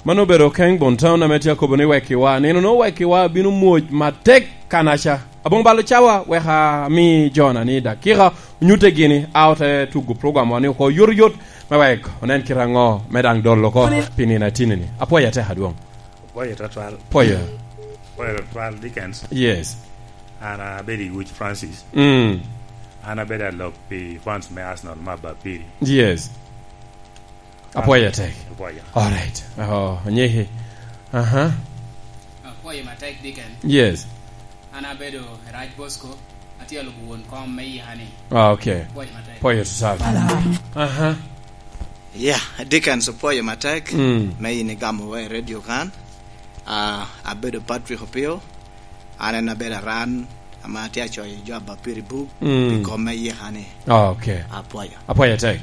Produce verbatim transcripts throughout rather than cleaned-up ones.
Mano obedo King Bon Town ame tye akobo ni wekkiwa. Nino no wekkiwa bino mwoc matek kanaca. Aboŋo balo cawa wek ami jo-na ni dakika onyutte gini, a ote tugo program wa ni oko yot yot me wek onen kite aŋo me daŋ dolo oko pi nino atini-ni. Apwoyo atek adwoŋ. Apwoyo tutwal. Apwoyo. Apwoyo tutwal, Dickens. Yes. An abedo i Wuc Francis. Mm. An abedo alok pi fans me Arsenal me Abapiri. Yes. Apwoyo atek. Apwoyo. All right. Oh, onyiki. Aha. Apwoyo matek, Deacon. Yes. An abedo Raj Bosco, atye alubo won kom me yika-ni. Ah, okay. Apwoyo matek. Apwoyo tutwal. Aha. Yeah, Dickens, apwoyo matek. Mm. Me in igamo wa i radio kan. Ah, abedo Patrick Opio. An en abedo aran ame atye acoyo jo Abapiri buk. Mm. Pi kom me yika-ni. Ah, okay. Apwoyo. Apwoyo atek.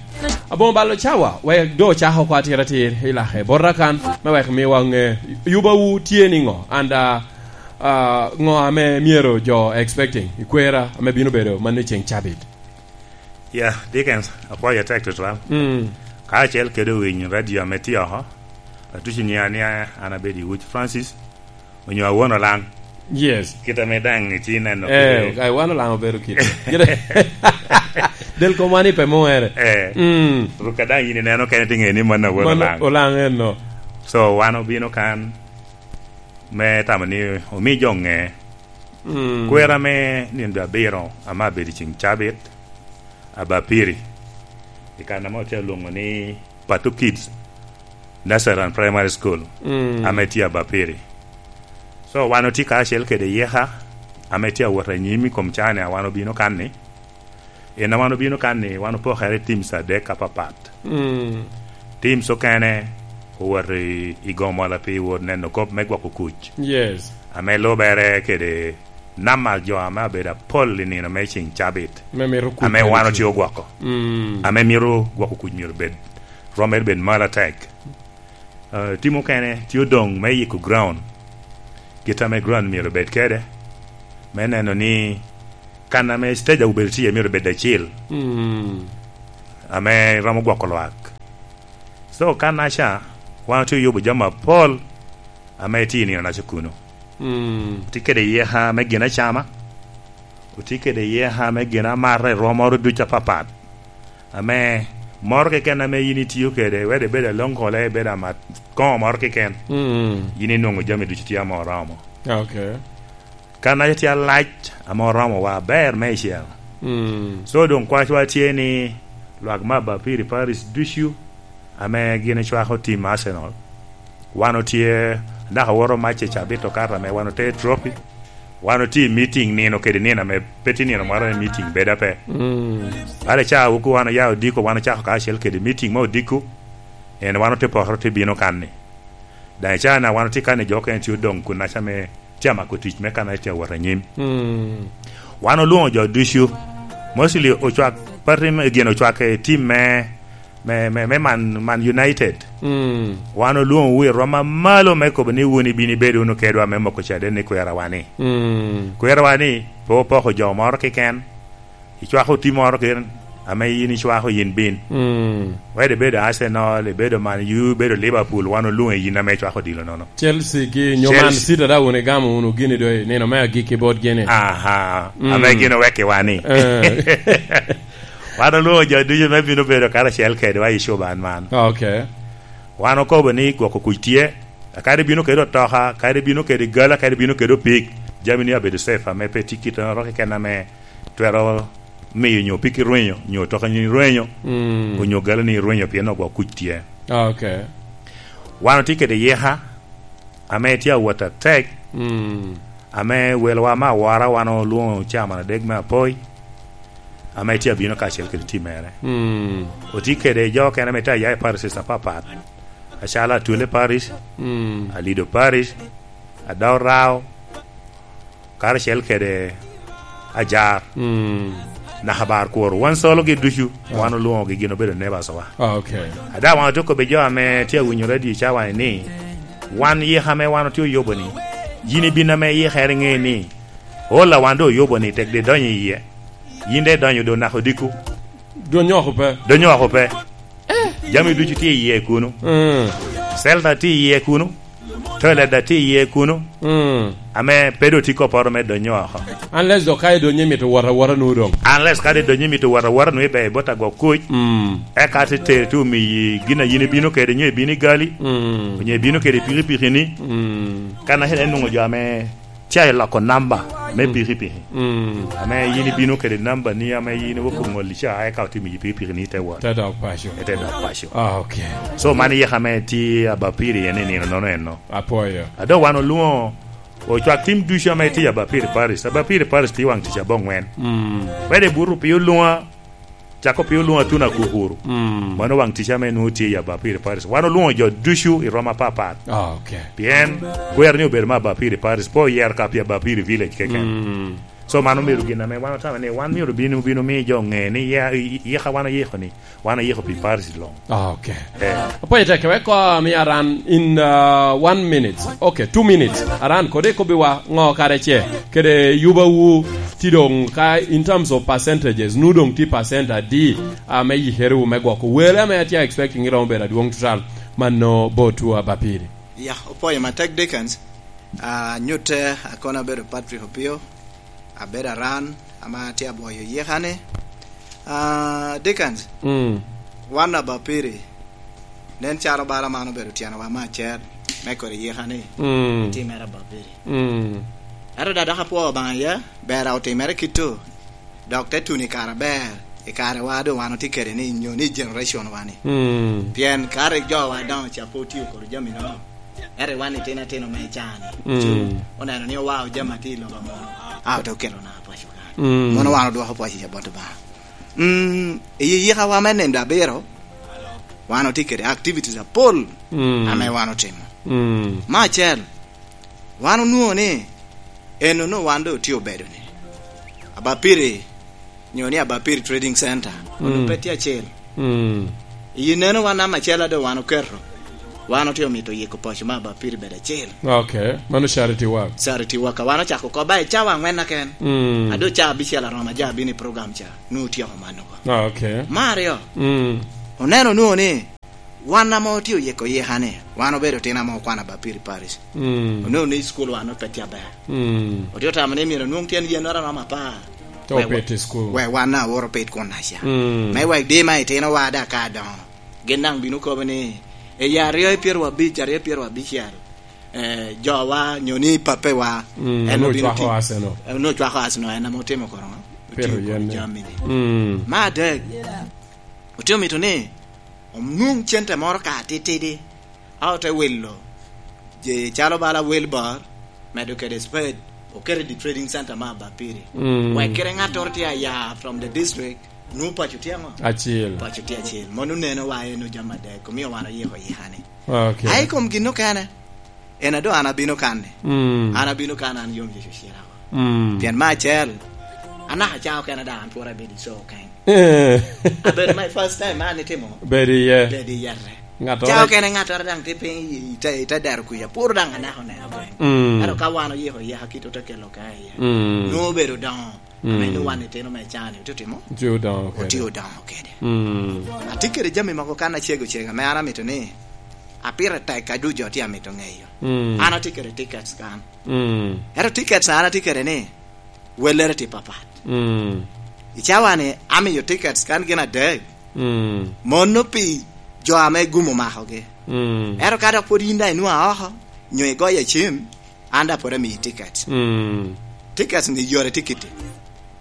Aboŋo balo cawa, wek doŋ ocako oko atir atir, ilake bota kan, me wek miwa ŋe, yubawu tye niŋo, and, ah, ah, ŋo ame myero jo expecting, i kwera ame bino bedo manno i ceŋ cabit? Yeah, Dickens, apwoyo atek tutwal. Mm. Ka acel kede owiny radio ame tye oko, atuco ni an, an abedo i Wuc Francis, onyo Awon Olaŋ. Yes. Kit ame daŋ itye neno. Eh, kede ai, wan Olaŋ obedo kit. Del kom wan ipe muhere. Eh. Mm. Ruk ka daŋ in ineno kene, tye ŋe ni mano Awon Mano Olaŋ. Olaŋ en no. So, wan obino kan me tamo ni omi jo ŋe. Mm. Kwera me nino abiro ame abedo i ceŋ cabit, Abapiri. I kan ame otye alwoŋo ni Pato Kids Nursery and Primary School, mm, ame tye Abapiri. So, wan otye karacel kede yeka ame tye awot anyim i kom caa-ni a wan obino kan-ni. En a wan obino kan-ni, wan opokere i teams adek apapat. Mm. Teams okene owot i, i gomola pi wot neno kop me gwoko kuc. Yes. Ame lubere kede nama jo ame abedo apol i nino me ceŋ cabit. Me mito kuc ame wan otye ogwoko. Mm. Ame mito gwoko kuc myero bed, rwomere bed malo atek. Eh, tim okene tye odoŋ me yiko ground. Kit ame ground myero bed kede, me neno ni kan ame stage a obedo tye myero bed acil. Mm. Ame romo gwoko lwak. So, kan aca, wan otye oyubo jami apol ame tye i nino naca kuno. Mm. Otye kede yeka me gin acama, otye kede yeka me gin amata i rwomoro ducu apapat. Ame moro keken ame yin itio kede, wede bed aloŋ kole, bed amat koŋo moro keken, mm, yin inwoŋo jami ducu tye ame oromo. Okay. Kan aca tye alac ame oromo wa aber meicel. Mm. So doŋ kwacwa tye ni lwak me Abapiri Paris ducu ame gin ocwako tim Arsenal. Wan otye, naka woto mac i cabit okato ame wan ote trophy. Wan otye i meeting nino kede nino ame pe tye nino moro ame meeting bedo ape. Mm. Bale ca wuku wan oya odiko, wan ocako kacel kede meeting me odiko. En wan ote poro te bino kan-ni. Daŋ i caa-na wan otye kan-ni jo okene tye odoŋ kun aca me tye amako tic me kan aca wot anyim. Mm. Wan olwoŋo jo ducu. Mostly ocwak, pati me gin ocwak i tim me, me, me, me Man, Man United. Mm. Wan olwoŋowu i rwom amalo me kobo ni wun ibino ibedo wunu kedwa me moko caden ni kwerawa-ni. Mm. Kwerawa-ni pe opoko jo moro keken. Icwako oti moro keken, ame yin icwako yin bin. Mm. Wede ibedo Arsenal, ibedo Man U, ibedo Liverpool, wan olwoŋi yin ame icwako odilo nono. Chelsea gi nyo Chelsea. Man City daŋ wun igamo wunu gini doŋ i nino me agikki bot gini. Aha, mm, ame gin owekki wa ni. Eh. Wan olwoŋo jo ducu me bino bedo karacel kedwa i cuban man. Okay. Wan okobo ni gwoko kuc tye, kadi bino kede otoka, kadi bino kede gala, kadi bino kede opik, jami ni abedo safe, ame pe tye kit oro keken ame twero miyo nyo piki rwenyo, nyo toka ni rwenyo, mm, onyo gala ni rwenyo pien ogwok kuc tye. Ah, okay. Wan otye kede yeka, ame tye awot atek, mm, ame welowa me awora wan olwoŋo caman adek me apoi, ame tye abino kacel kede tim mere. Mm. Otye kede jo okene ame tye aya i parishes apapat, acalo Atwele Parish, mm, Alido Parish, Adao Rao, karacel kede Ajar, mm, naka Bar Kworo. Wan sologi ducu, ah, wan olwoŋogi, gin obedo neighbors wa. Ah, okay. Ada wan otye kobbi jo ame tye awinyo radio i cawa ni, wan yika ame wan otye oyubo ni, yin ibin ame yikere iŋe ni, ola wan doŋ oyubo ni tek de donyo iye. Yin de idonyo doŋ naka odiko. Dwony oko pe. Dwony oko pe. Jami ducu tye iye kuno. Mm. Celta tye iye kuno. Toilet da tye iye kuno. Mm. Ame pe doŋ tye kopporo me donyo oko. Unless dok ka idonyo imito wot awota nu doŋ. Unless ka idonyo imito wot awota nu ibe ibot agwok kuc. Mm. Eka te tere te omiyi gin a yin ibino kede, nyo ibino i gali. Mm. Onyo ibino kede i pikipiki ni. Mm. Kan acel en nwoŋo jo ame tye i loko namba me Mm. pikipiki. Mm. Ame yin ibino kede namba ni ame yin iwok oŋolli ca, eka otimo i pikipiki ni ite wot. Te dok paco. Ite dok paco. Ah, okay. So, man yeka ame tye Abapiri en i nino nono eno. Apwoyo. A doŋ wan olwoŋo ocwak tim ducu ame tye Abapiri Paris. Abapiri Paris tye waŋ tic aboŋwen. Mm. Wede buto piny olwoŋa, cako piny olwoŋo Atuna Kukuru. Mm. Mano waŋ tic ame nwoŋo tye i Abapiri Paris. Wan olwoŋo jo ducu i roma apapat. Ah, okay. Pien kwero ni obedo me Abapiri Paris, pe oyero ka pi Abapiri Village keken. Mm. So, mano myero gin ame wan otamo ni wan myero bino, bino miyo jo ŋe ni ya-, i-, i-, yeka wan oyiko ni, wan oyiko pi Paris luŋ. Ah, okay. Eh. Apwoyo tek, wek ko mi aran in, uh, one minute. Okay, two minutes. Aran kodi ikobbiwa ŋo kare ce kede yubawu ti doŋ ka in terms of percentages, nu doŋ ti percent adi, uh, me yikerewu me gwoko wele ame atye expecting iromo bedo adwoŋ tutal mano botwu Abapiri? Ya, opwoyo matek Dickens. Ah, nyutte, akono abedo Patrick Opio, abedo aran, ama atye abwoyo yeka ni. Ah, Dickens, Mm. wan Abapiri, nen calo bala man obedo tyenowa me acel, me kodi yeka ni, Mm. timere Abapiri. Mm. Ento da dok apwoo Obaŋa iye, ber a otimere kito, dok te tuno i kare aber, i kare wa doŋ wan otye kede ni, nyo ni generation wa ni. Mm. Pien ka rik jo wa doŋo ca pe otio kodi jami nono, ento wan itino atino me caa ni, Mm. cu oneno ni owao jami atye i lobo amono, a ote okelo na paco ka. Mm. Mono wan odwoko paco ca bot Obaŋa. Mm, i yika wa me nino abiro, wan otye kede activities apol Mm. ame wan otimo. Mm. Me acel, wan onwoŋo ni, eno no wan doŋ otye obedo ni. Abapiri, nyo ni Abapiri Trading Center, onwoŋo Mm. pe tye acel. Mm. I neno wan namba acel a doŋ wan oketo, wan otye omito yiko paco me Abapiri bedo acel. Okay, mano charity work. Charity work, a wan ocako oko ba i cawa aŋwen aken. Mm. A doŋ cawa abicel aromo aja abino i program ca, nwoŋo otyeko mano oko. Ah, okay. Me aryo, Mm. oneno nwoŋo ni, wan ame otye oyiko yika ni, wan obedo otino ame okwano Abapiri Paris. Mm. Onwoŋo ni i cukul wan pe tye aber. Mm. Otye otamo ni myero onwoŋ tyen yennoro aromo apar. Te Wek wa-, opit i cukul. Wek wan a oro pit kun aca. Mm. Me wek di ma itino wa da ka doŋo. Gin daŋ bino kobo ni, "Eyi aryo i pyero abic, aryo i pyero abicel, eh, jowa, nyo ni pape wa, Mm, en onwoŋo obino cwako ti-, Arsenal. Eh, onwoŋo cwako Arsenal, en ame otimo koro ŋo? Pito Otio kodi yen. Jami ni." Mm. Me adek, otye omito ni, onwoŋ cente moro ka atitidi, a ote wilo, je calo bala Wilbur, medo kede Spade, oketo i the trading center me Abapiri. Mm. Wek kite ŋattoro tye aya from the district, nwoŋo paco tye ŋo? Acil. Paco tye acil. Mono neno wa en ojami adek, omio wan oyiko yika ni. Okay. Aye i kom gin okene, en a doŋ an abino kan ni. Mm. An abino kan, an yom Yecu ocira oko. Mm. Pien me acel, anaka ca okene daŋ an pwod abedo i coo kany. Eh. Abedo my first time, an itimo. Bedo iye. Bedo iye re. Ŋattoro Ca okene ŋattoro daŋ tye piny i, i te, i te dero kuca, pwod daŋ anaka oneno piny. Mm. Ento ka wan oyiko yeka kit ote kelo ka iye. Mm. Nwoŋo obedo doŋo. Mm. Ame nwoŋo wan itino me caa ni, otye otimo? Otye odoŋo kede. Otye odoŋo kede. Mm. Atye kede jami mogo kan acego cego, ame an amito ni, apire tek ka ducu jo tye amito ŋeyo. Mm. An atye kede tickets kan. Mm. Ento tickets an atye kede ni, wellere tye papat. Mm. I cawa ni, amiyo tickets kan gin adek. Mm. Mono pi jo ame gum omakogi. Mm. Ento ka dok pwod yin daŋ inwoŋo oko, nyo igoyo acim, an daŋ pwod amiyi tickets. Mm. Tickets ni yore tye kiti.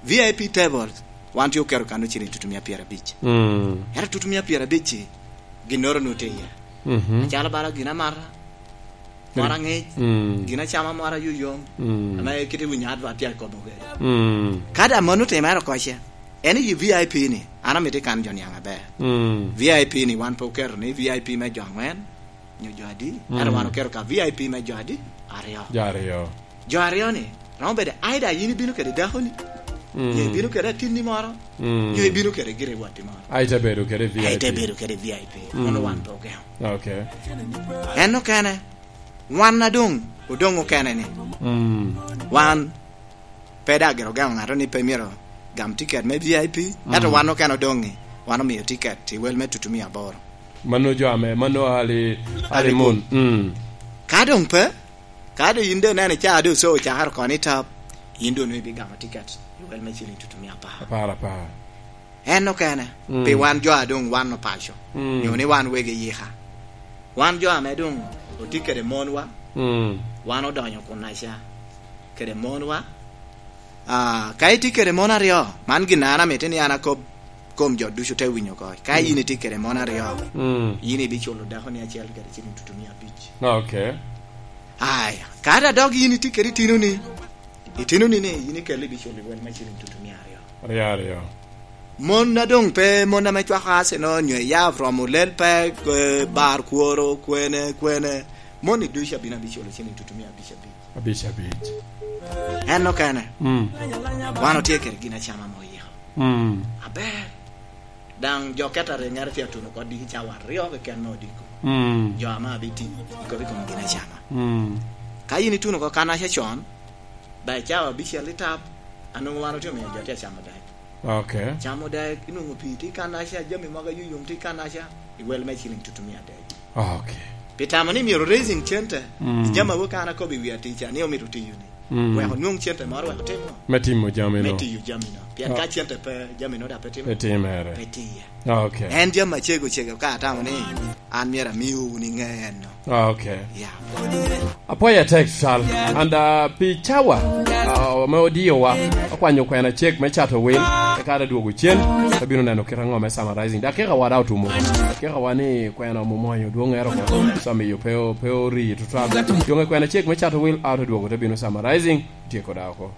V I P tables, wan tye oketo kan ociling tutumia pyerabic. Mm. Ento tutumia pyerabic-ci, ginnoro nwoŋo tye iye. Mhm. Acalo bala gin amata, Mot aŋic, mm, gin acama mot ayuyom, mm, ame kite winyo adwa tye akobo kede. Mm. Ka daŋ mano otimere oko ce, en i V I P ni, an amito ikan jo niaŋ aber. Mm. V I P ni wan pe oketo ni V I P me jo aŋwen, nyo jo adi, mm, ento wan oketo ka V I P me jo adi, aryo. Jo aryo. Jo aryo ni, romo bedo, either yin ibino kede dakoni, mm, nyo ibino kede atinni moro, mm, nyo ibino kede gire watti moro. Ai te bedo kede V I P. Ai te bedo kede V I P. Mm. Mano wan pe ogeŋo. Okay. En okene, wan a doŋ, odoŋ okene ni. Mm. Wan, pe daŋ gire ogeŋo ŋato ni pe myero gam tiket me V I P, mm, ento wan okene odoŋ ni, wan omio tiket i wel me tutumia aboro. Mano jo ame, mano ali, Honeymoon. Mm. Ka doŋ pe, ka doŋ yin doŋ ineno ca doŋ so ocakere oko ni tap, yin doŋ nwoŋo ibigamo tiket i wel me ciling tutumia apar. Apar, apar. En okene, mm, pi wan jo a doŋ wan opaco, mm, nyo ni wan wegi yika. Wan jo ame doŋ otye kede monwa, mm, wan odonyo kunnaca kede monwa. Ah, ka itye kede mon aryo, man gin an amito ni an akob kom jo ducu te winyo oko. Ka, mm, yin itye kede mon aryo, mm, yin ibiculo dakoni acel kede ciling tutumia abic. Ok. Aya, ka da dok yin itye kede itinoni, itinoni ni yin ikelle ibiculo i wel me ciling tutumia aryo. Aryo, aryo. Mon a doŋ pe, mon ame cwako Arsenal nyo eya from olel pe, eh, bar kworo, kwene, kwene. Mon i ducu abino abiculo ciling tutumia abic abic. Abic abic. En okene. Mm. Wan otye kede gin acama mo oyiko. Mm. Aber. Daŋ jo catering ŋere tye atuno oko diki cawa aryo keken me odiko. Mm. Jo ame abiti ikobo i kom gin acama. Mm. Ka yin ituno oko kannaca con, ba i cawa abicel i tap, anwoŋo wan otye omiyo jo tye acamo dek. Ok. Camo dek, inwoŋo pii tye kannaca, jami mogo ayuyum tye kannaca, i wel me ciling tutumia adek. Ok. Pi tamo ni myero raising cente, mm, i jami awobi ka an akobo i wi atica ni omito tiyo ni. Mm. Wek onwoŋ cente moro wek otim ŋo? Me timo jami no. Me tiyo jami no. Pien, ah, ka cente pe, jami no da pe timo. Pe timere. Pe tiye. Ok. En jami acego cego ka atamo ni an myero amiwu wun iŋe en no. Ah, ok. Yeah. Apwoyo atek, Cal. And, uh, pi cawa, uh, ame odiowa, akwanyo kwena cek me cato wil, eka adwogo cen, abino neno kit aŋo me summarizing. Dakika wa da otumo. Dakika wa ni kwena omwonyo dwoŋŋere oko, so amiyo pe o-, pe orii tutwal. Doŋ kwena cek me cato wil, a odwogo te bino summarizing, tyeko da oko.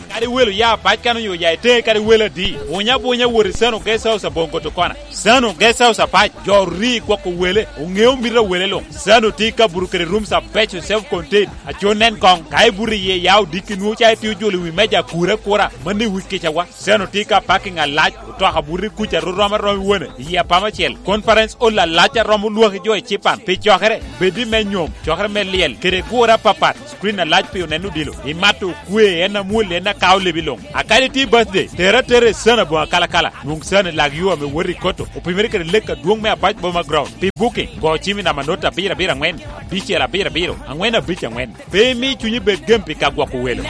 Kadi welo ya apac kan onyo ya i teŋe kadi welo adi, buny abunya wot i Sano Guest House aboŋo Kotokona. Sano Guest House apac, jo ori gwoko wele, oŋeo mito a wele luŋ. Sano tye ka buto kede rooms abeco self contained, aco nen koŋ. Ka ibuto iye ya odiki nwoŋo ca itye ojolo i wi meja akura akura, mano i wi kicawa. Sano tye ka parking alac, otoka buto i kuca rom aroma i wone, i apama acel. Conference hall alac a romo lwaki jo i cipan. Pi cokere, bed i me nyom, cokere me lyel, kede gure apapat. Screen alac pi oneno odilo, imato okwe, en amwol, en akao lebi luŋ. A kadi tye birthday, tere atera i Sano aboŋo akalakala, nwoŋ Sano i lak yo ame wot i Koto, opimere kede lek adwoŋ me Apac Boma Ground. Pi booking, go cim i namba not abiro abiro aŋwen, abicel abiro abiro, aŋwen abic aŋwen. Pe imi cunyi bed gem pi ka gwoko welo.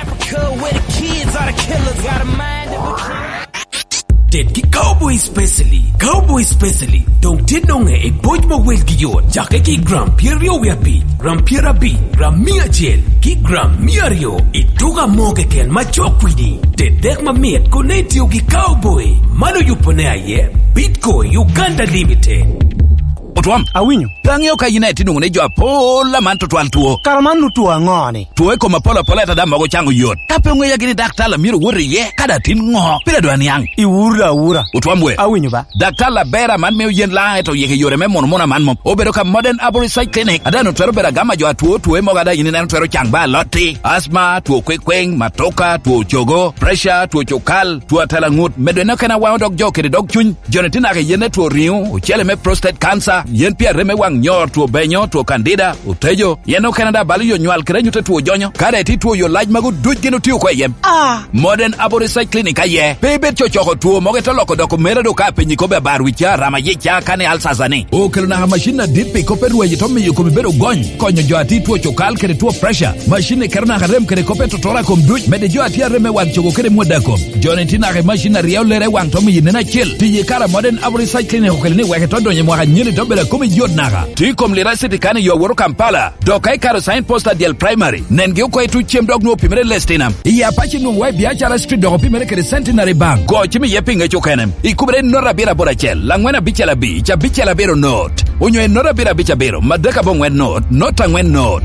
Ted gi Cowboy Specially. Cowboy Specially doŋ tye noŋe i boc ma welgi yot. Cake ki gram pyeraryo wie abic, gram pyerabic, gram mia acel, ki gram mia aryo i tuka mo keken ma cok kwidi. Ted dek mamit kono itio gi Cowboy. Man oyubone aye Bitco Uganda Limited. Otwom. Awinyo. Pe aŋeo ka yin aye itye nwoŋo ni jo apol aman tutwal two. Kara man nu two aŋo-ni? Two i kom apol apola ata daŋ mogo caŋo yot. Ka pe oŋeya gini daktar a myero wot iye, ka daŋ tin ŋo? Pire dwa niaŋ. Iwuro da awura. Otwom we. Awinyo ba. Daktar aber aman mio yen laŋ, ento yeke yore me muno muno aman mom. Obedo ka Modern Arborist Side Clinic. A daŋ otwero bedo agama jo atwo two mogo a daŋ yin ineno twero caŋ ba alotti, asma, two kwekweng, matoka, two cogo, pressure, two cukal, two atela ŋut, medo en okene awaŋo dog jo kede dog cuny. Joni tye naka i yen me two riŋo, ocele me prostate cancer, yen pi arem me waŋ nyor, two benyo, two candida, otejo, yen okene daŋ balo yo nywal kede anyut a two jonyo. Ka daŋ itye two yo lac magu duc gin otio oko i yem. Ah! Modern Arborist Side Clinic aye. Pe ibed cocoko two mogo ite loko doko mere do ka piny ikobe abar wicca, rama yica, kani alsasa ni. Okelo naka macin adit pi kop me rwaci to miyo komi bedo gony, konyo jo a tye two cukal kede two pressure. Macin ni keto naka rem kede kop me totora kom duc, mede jo a tye arem me waŋ cogo kede mwada kom. Joni tye naka i macin a ryeo lere i waŋ to miyo nen acel. Tiyo i kare a Modern Arborist Side Clinic okelo ni wek ito donyo i mwaka anyeni to bedo a komi yot naka. Tye i kom Liracity kan i yo aworo Kampala. Dok ka ikaro Sign Post Adiel Primary, nengi oko i tuc cem dok nwoŋo opimere i Lestinam. I Apac nwoŋo wa i Biacara Street dok opimere kede Centenary Bank. Go cim iye pi ŋec okene. Ikubere i note abiro aboro acel, laŋwen abicel abic, abicel abiro note. Onyo i note abiro abic abiro, madek aboŋwen note, note aŋwen note.